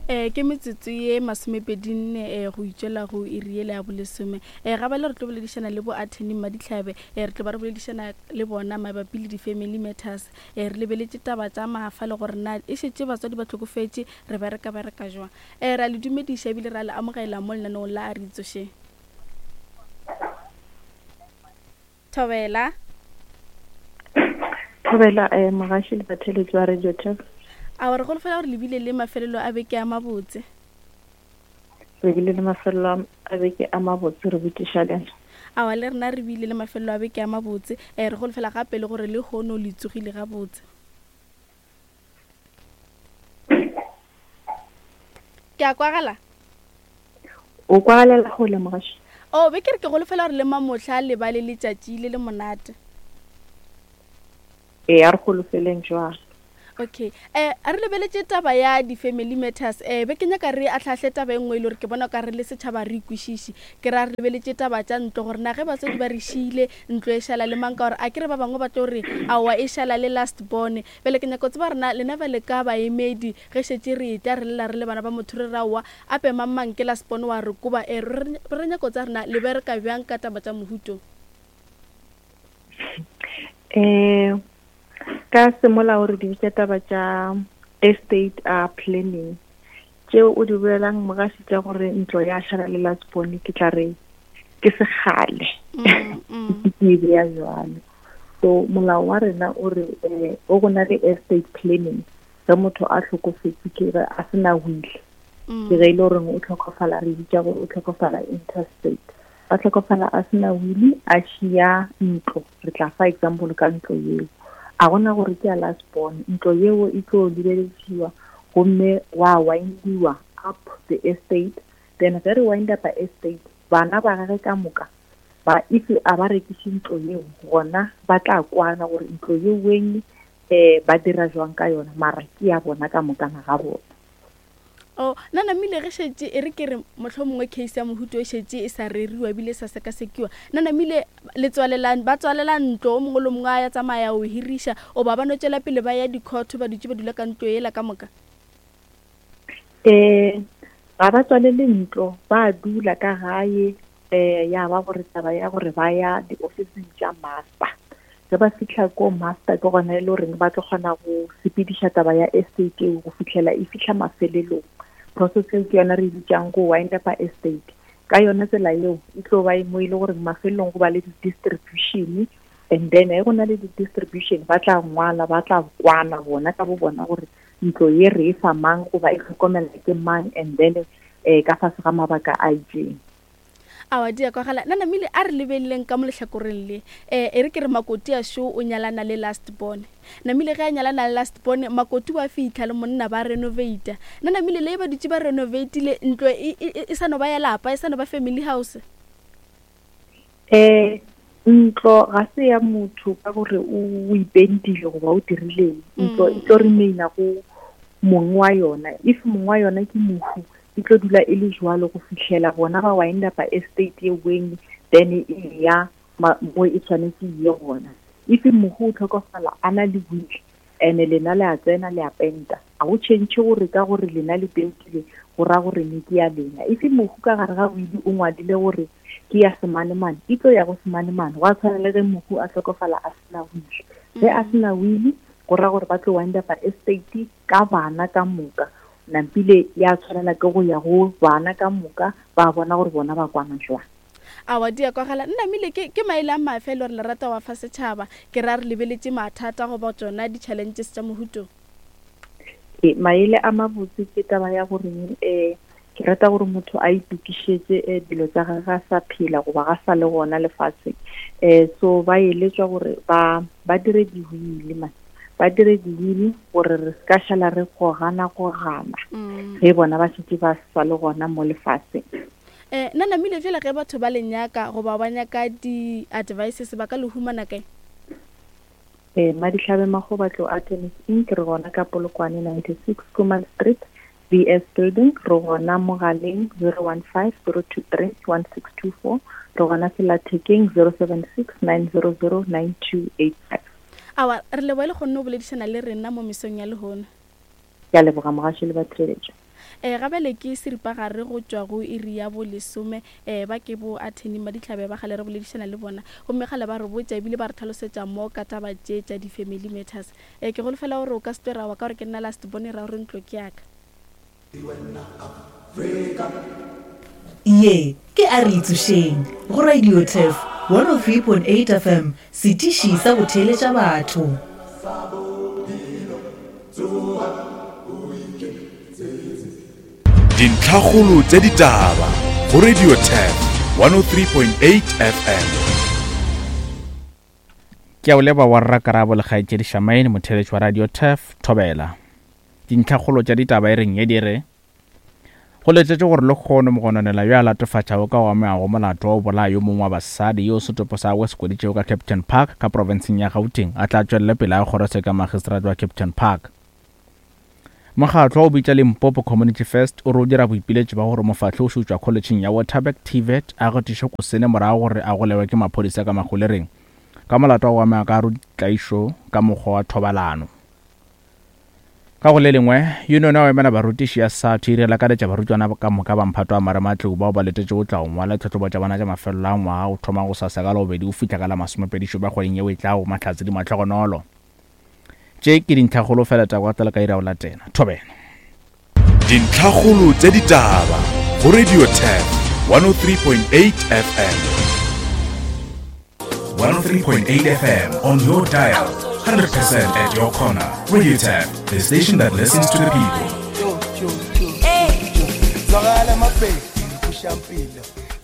Um ke metsotso ye masomepedinne um go itšwela go iri yela ya bolesome. Um ga bale re tlo boledišana le bo attorney Mmadihlabe, um re tlo ba re boledišana le bona mabapi le di-family matters. Um re lebeletše taba tša mafa le gore na e šetše batswadi ba hlokofetše re bereka bereka jwang. Um ra le dumediša ebile ra le amogela mo lenaneong la A Re Itsošeng. Thobela. Thobela, eh, mogaši le batheeletši ba Radio Tef. A re golofela gore le bile le mafelelo a beke a mabotse. Re bile le mafelelo a beke a mabotse, re botšiša lena. Awa le rena re bile le mafelelo a beke a mabotse. Eh, re golofela gape le gore le hono le tsogile gabotse. Ke a kwagala? O kwagalela gole mogaši. O be ke re ke golofela gore le mamohla le ba le letšatši le le monate. Ee, a re golofeleng jwalo. Okay. Eh, a re lebeletše taba ya di-family matters. Eh, be ke nyaka re ahlaahle taba e nngwe e le gore ke bona ka re le setšhaba re ikwešiše. Ke ra re lebeletše taba tša ntlo gore na ge batswadi ba re šiile ntlo e šala le mang ka gore a ke re ba bangwe ba tlo re aowa e šala le last born. Bjale ke nyaka go tseba gore na lena bjale ka baemedi ge šetše re etla re lla re le bana ba motho re re aowa ape mang mang ke last born wa re koba e re re nyaka go tseba gore na le bereka bjang ka taba tša mohuto. Um ka semolao re di bitša taba tša estate uh, planning tšeo o di bolelang mogaši tša gore ntlo ya šala le last born ke tla re ke segale mm, mm. ke e beya jwalo So molao wa rena o re eh, o go na le estate planning ge motho a hlokofetse ke ge a se na will mm. ke ge e le goreng o tlhokofala re bitša gore o tlhokofala interstate ba tlhokofala a se na will a šia ntlo re tla fa example ka ntlo yeo a gona gore ke ya last born ntlo yeo e tlo lebelediwa gomme wa windiwa up the estate then ge re wind up estate bana ba gage ka moka Ba if a ba rekiše ntlo yeo gona ba tla kwana gore ntlo yeo weng eh ba dira jwang ka yona mara ke ya bona ka mokana ga bona. Oh, na namile ge šetše e re ke re mohlomongwe case ya mohuto e šetše e sa reriwa ebile e sa sekasekiwa. Na namile le tswalela ba tswalela ntlo o mongwe le mongwe a ya tsamaya o hiriša o ba ba no tšwela pele ba ya di-court ba dutše ba dula ka ntlo yela ka moka? Eh ga ba tswalele ntlo ba dula ka gae um ya ba gore taba ya gore ba ya diofising tša master ge ba fitlha ko master ke gona e le goreng ba tlo kgona go sepediša taba ya estate eo go fitlhela e fitlha mafelelong process eo ke yona re e bitsang go wind up estate ka yona tsela eo e tlo ba e mo e le goreng mafelelong go ba le di-distribution and then ge go na le di-distribution ba tla ngwala ba tla kwana bona ka bo bona gore ntlo ye re e fa mang goba e tlhokomela ke mang and then um ka fase ga mabaka a itseng Aowa, di a kwagala. Na namile a re lebeleleng ka mo lehlakoreng le. Eh, e re ke re Makoti a šo o nyalana le last born. Namile ge a nyalana le last born, Makoti wa fihla le monna ba renovata. Na namile le ba dutše ba renovatile ntlo e, e, e sa no ba ya lapa, e sa no ba family house. Eh, ntlo ga se ya motho ka gore o ipentile goba o dirileng. Ntlo e tlo remaina go mong wa yona. If mong wa yona ke mohu, e tlo dula e le jwalo go fihlela bona ba wind up estate ye weng then e ya mo e tshwanetse e ye gona. If mohu o tlhokofala a na le will ene lena le a tsena le a penta, a go change gore ka gore lena le pentile go ra gore ne ke ya lena. If mohu ka gare ga will o ngwadile gore ke ya semanemane, e tlo ya go semanemane. Gwa tshwana le ge mohu a hlokofala a sena will. Ge a sena will go ra gore ba tlo wind up estate ka bana ka moka. Nampile ya tshwanela ke go ya go bana ka moka ba bona gore bona ba kwana jwang. Aowa di a kwagala. Nnamile ke ke maele a mafe e le gore le rata wa fa setšhaba? Ke ra re lebeletše mathata goba tšona di-challenges tša mohuto. E, maele a mabotse ke taba ya gore um ke rata gore motho a itokišetše um dilo tša gage a sa phela goba ga sa le gona lefatsheng. Um so ba eletšwa gore ba ba dire di-will man. Ba dire di-will gore re se ka šala re gogana gogana mm. ge bona ba šetše ba sa le gona mo lefatsheng. Eh, nna namile fela ge batho ba le nyaka goba ba nyaka di-advices ba ka le humana kae? Eh, Madihlabe Magobatlo Artemis Inc. Re gona ka Polokwane 96 Kuman Street, BS Building. Re gona mogaleng 015 023 1624. Re gona sellathekeng 076 900 9285. Awa, re leboga le kgonne go boledišana le rena mo mesong ya lehono. Ke a leboga mogaši le batheeletši. Um gabjale ke seripagare go tšwa go iri ya bolesome. Um ba ke bo attorney Madihlabe ba kgale re boledišana le bona. Gomme kgale ba re botša ebile ba re tlhalosetša mo ka taba tše tša di-family matters. Um ke holofela gore o ka se twe ra wa ka gore ke nna last born e ra gore ntlo ke ya ka. Ye ke A Re Itsošeng go Radio Turf 103.8 FM, setiši sa go theeletša batho. Dintlhakgolo tša ditaba go Radio Turf 103.8 FM. Ke a o leba wa rra Karabo le kgaetšedi Shamaine, motheeletši wa Radio Turf, Thobela. Dintlhakgolo tša ditaba e reng ye di re, Go letetšwe gore lehono mogononelwa yo a latofatšago ka go amegago molato wa go bolaya yo mongwe wa basadi yo setopo sa gagwe se hweditšwego ka Kempton Park ka profenseng ya Gauteng a tla tšwelele pele a kgorotsheko ya magistrate wa Kempton Park. Mokgatlo wa go bitša Limpopo Community First o re o dira boipiletšo bja gore mofahli o šutšwa kholetšheng ya Waterberg TVET a gatišwe kosene morago gore a golegwe ke maphodisa ka magolereng ka molato wa go amega ka tlaišo ka mokgwa wa thobalano. Ka go le lengwe, yunione ya go emela barutiši ya SADTU e lakaletša barutwana ka moka ba mphato wa marematlou bao ba letetšego go tla go ngwala ditlhahlobo tša bona tša mafelelo a ngwaga go thoma gosasa ka Labobedi go fihla ka la masomepedi-šupa kgweding yeo e tlago, Mahlatse di Mahlogonolo. Tše ke dintlhakgolo fela tša kwa ka iri ya go latela. Thobela. Dintlhakgolo tša ditaba go Radio Turf 103.8 FM. 103.8 FM on your dial, 100% at your corner. Radio Turf, the station that listens to the people. Zwakala mabheki kushampilo.